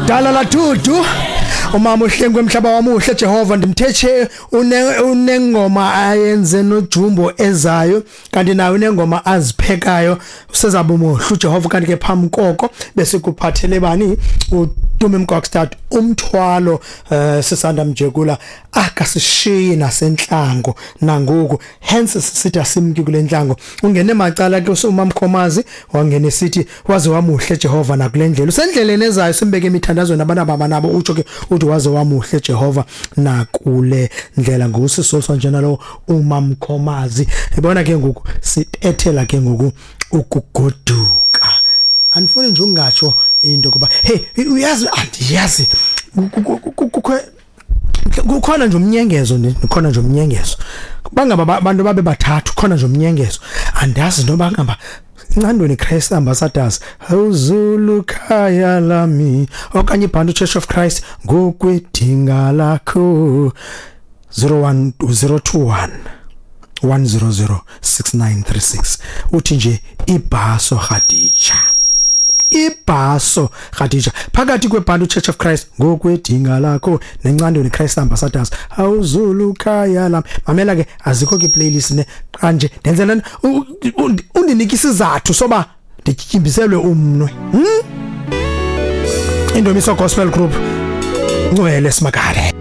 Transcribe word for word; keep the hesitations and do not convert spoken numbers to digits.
Dala la dudu umama uhlengwe emhlaba wamuhle Jehova ndimthetshe une unengoma ayenze noJumbo ezayo kanti nayo unengoma aziphekayo usezaba umuhle uJehova. Kanti ke phambi koko bese kuphathele bani uTumi Mkokstad umthwalo eh, sisanda mjekula akasishiyi nasentlango nangoku, hence sithi asimki kule ntlango. Ungene macala ke usumamkhomazi wangena sithi waze wamuhle Jehova nakule ndlela usendleleni ezayo simbeke emithandazweni abantu ababanabo utsho ke uthi waze wamuhle Jehova nakule ndlela ngusisolwa njena lo umamkhomazi. Ibona ke ngoku sibethela ke ngoku ukugoduka. Andifuni nje ungatsho into kuba hey uyazi andiyazi kukhona nje umnyengezo kukhona nje umnyengezo bangaba abantu babe bathathu khona nje umnyengezo andazi noba ngaba Ncandweni Christ Ambassadors awuzulu khaya lami okanye iBantu Church of Christ ngokwedinga lakho zero one zero two one one zero zero six nine three six uthi nje ibhaso Khadija ibhaso Khadija phakathi kweBantu Church of Christ ngokwedinga lakho neNcandweni Christ Ambassadors awuzulu khaya lami. Mamela ke azikho ke playlist ne kanje ndenzela undinika isizathu soba ndityimbiselwe umnwe. Hmm? Indomiso Gospel Group Ngcwele Simakade.